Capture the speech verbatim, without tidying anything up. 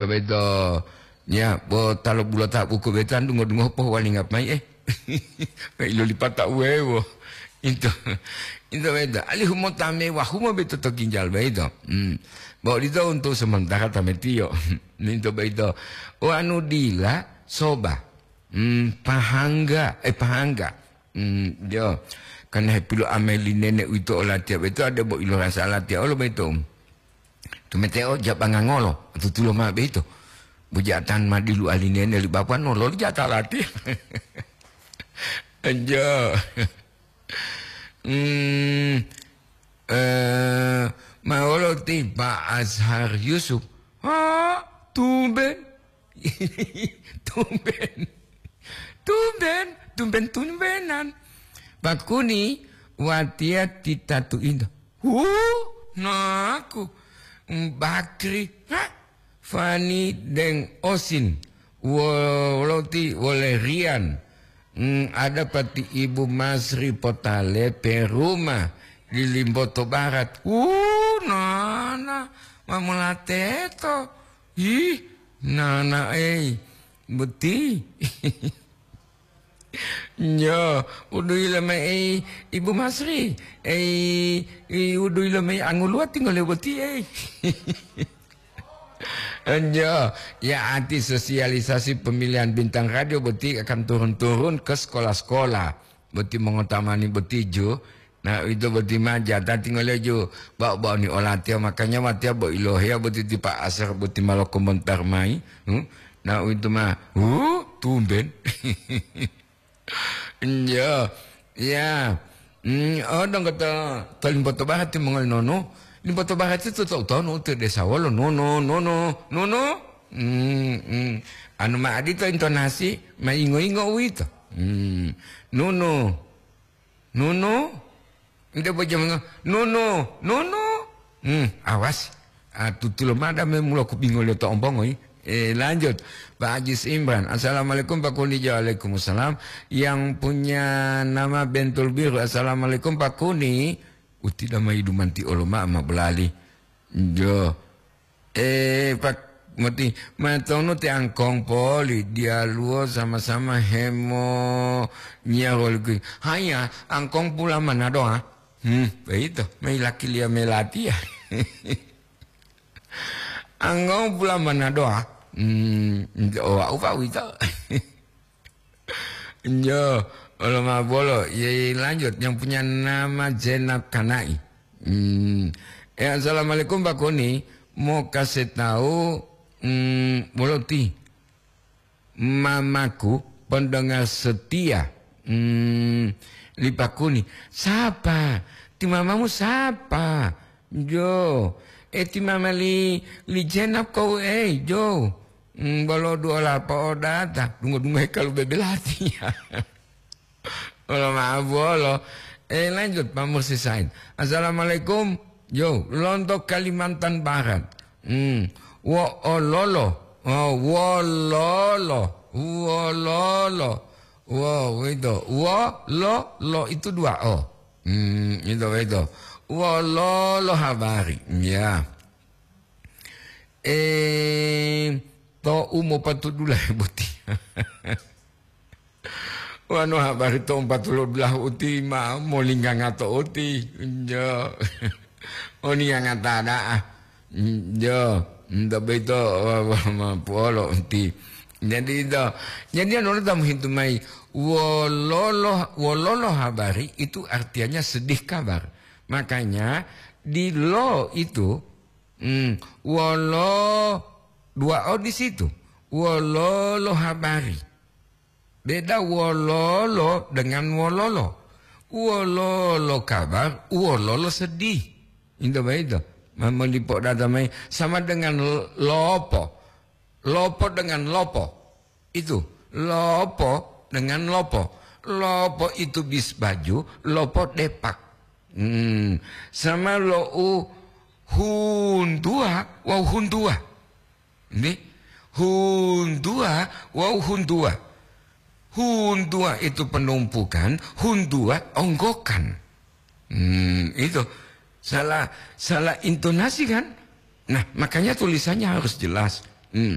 Beto, ya, bo talo bulota buku beto an dungo-dungo pohuwalinga mayi, eh. Ilolipata uwewo. Into, into beto. Alihu mo tame wahumo beto to ginjal beto. Hmm. Bo dito untuk sementara tametiyo. Into beto. O anu dila, soba. Hmm, pahangga, eh, pahangga. Hmm, yo. Karena hepilo ameli nene uwito olatiya beto, ada bo ilorasa latiya olo beto. Tumeteo jabanga ngolo, tutulo ma beito. Bujatan madilu alinene li bapa no loli jata lati. Anjo. Hmm, eh, ma wolo ti Pak Azhar Yusuf. Ha, tumben. Tumben. Tumben, tumben-tumbenan. Pakuni watiya titatu into. Hu, naku. Bakri. Ha? Fani deng Osin. Woloti wole Rian. Hmm, ada pati Ibu Masri Potale Peruma di Limboto Barat. Hu, nana. Mamulateto. Ih, nana, ei. Boti. Nyo, uduyi lomei Ibu Masri. Ei, i uduyi lomei anguluwa tingole boti, ei. Nyo, ya ati sosialisasi pemilihan bintang radio boti akan turun-turun ke sekolah-sekolah. Boti mongotamani boti ju. Na, uwito boti ma jatati ngoleyo ju ba'o-ba'oni olatiya, makanya watiya bo iloheya boti ti Pak Asar boti ma lokomontar mayi. Hmm? Na, uwito ma, hu, tumben. Iya. Ya. Hmm, oh, dong kata to Limboto Barat ti mongoli nono. Limboto Barat itu to, to, to, no, to desa wolo, nono, nono, nono. Hmm, hmm. Anu ma adito intonasi, ma ingo-ingo uwito. Hmm. Nono. Nunu, nte bojamango, nunu, nunu. Hmm, awas. Ah, tutulo mada me mulo kubingo leto ombongo, i. Eh, lanjut. Pak Ajis Imran. "Assalamualaikum, Pak Kuni." Waalaikumsalam. Yang punya nama Bentul Biru. "Assalamualaikum, Pak Kuni." Uti dama idumanti olo ma, ma belali. Jo. Eh, Pak Moti, matonu te angkong poli, diyaluwo sama-sama hemo nyaroliku. Haya, angkong pula manadoa. Hmm, beito, mai lakiliya melatiya. Angkong pula manadoa. Hmm, o, upa wito. Yo, olo ma bolo, ye lanjut yang punya nama Jenab Kanai. Hmm. Eh, assalamualaikum, Pak Kuni. Mau kasih tahu, hmm, bolo ti mamaku pendengar setia. Hmm, li Pak Kuni. Siapa? Ti mamamu siapa? Jo. Eh, ti mama li, li Jenab kau, eh, Jo. Hmm, bolo duola po'odata, dungo-dungohe kalu bebelatiya. Olo ma'o bolo. Eh, lanjut, Pak Mursi Said. "Assalamualaikum." Yo, lonto Kalimantan Barat. Hmm. Wo ololo. Oh, wololo. Wololo. Wo, itu. Wo, lo, lo. Itu dua O. Hmm, itu, itu. Wololo habari. Ya. Eh, to u mopatudula boti. Wanu habari to umpatulo dulahu uti ma molinganga to uti. Jo. Oni yang ngata da'a. Jo. Nda beto wa, wa, ma puolo uti. Jadi itu. Jadi anu tamu hintu mai. Wololo, wololo habari itu artinya sedih kabar. Makanya di lo itu Hmm, wolo dua O di situ. Wololo habari. Beda wololo dengan wololo. Wololo kabar, wololo sedih. Itu begitu. Memang dipodata mai sama dengan l-, lopo. Lopo dengan lopo. Itu, lopo dengan lopo. Lopo itu bis baju, lopo depak. Hmm, sama lo'u huntua wawu huntua. Nggih? Huntua wawu huntua. Huntua itu penumpukan, huntua onggokan. Hmm, itu. Salah, salah intonasi kan? Nah, makanya tulisannya harus jelas. Hmm.